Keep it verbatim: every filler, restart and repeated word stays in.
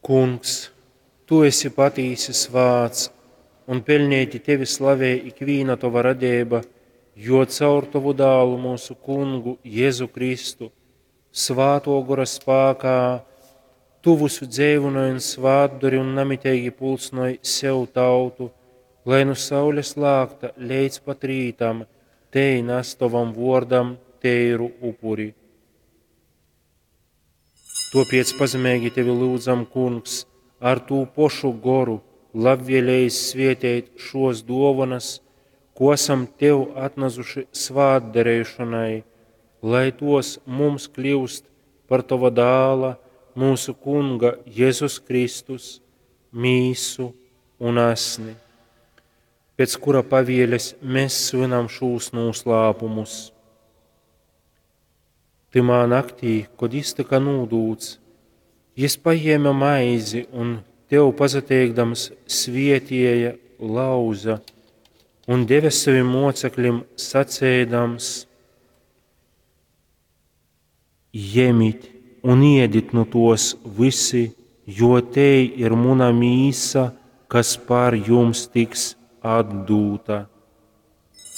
Kungs, tu esi patīsi svāts, un peļneiti tevi slavej ikvīna tova radeiba, jo caur tovu dālu mūsu kungu Jēzu Kristu, svātō gora spākā, tu vysu dzeivynoj un svātdori un namiteigi pulcynoj sev tautu, lai nu saules lākta leidz pat rītam tei nas tovam vōrdam teiru upuri. Tōpēc pazemeigi tevi lyudzam, Kungs, ar tū pošu goru labvēlējis svēteit šōs dōvonas, ko asam tev atnasuši svātdareišonai, lai tōs mums kļyust par tova dāla, mūsu Kunga Jēzus Kristus, mīsu un asni, pēc kura pavieles mēs svinam šūs nūslāpumus. Tymā naktī, kod jis tyka nūdūts, jis pajēme maizi un tev pasateikdams svietieja, lauza un deve savim moceklim, saceidams: Jemit un iedit nu tos visi, jo tei ir muna mīsa, kas par jums tiks atdūta.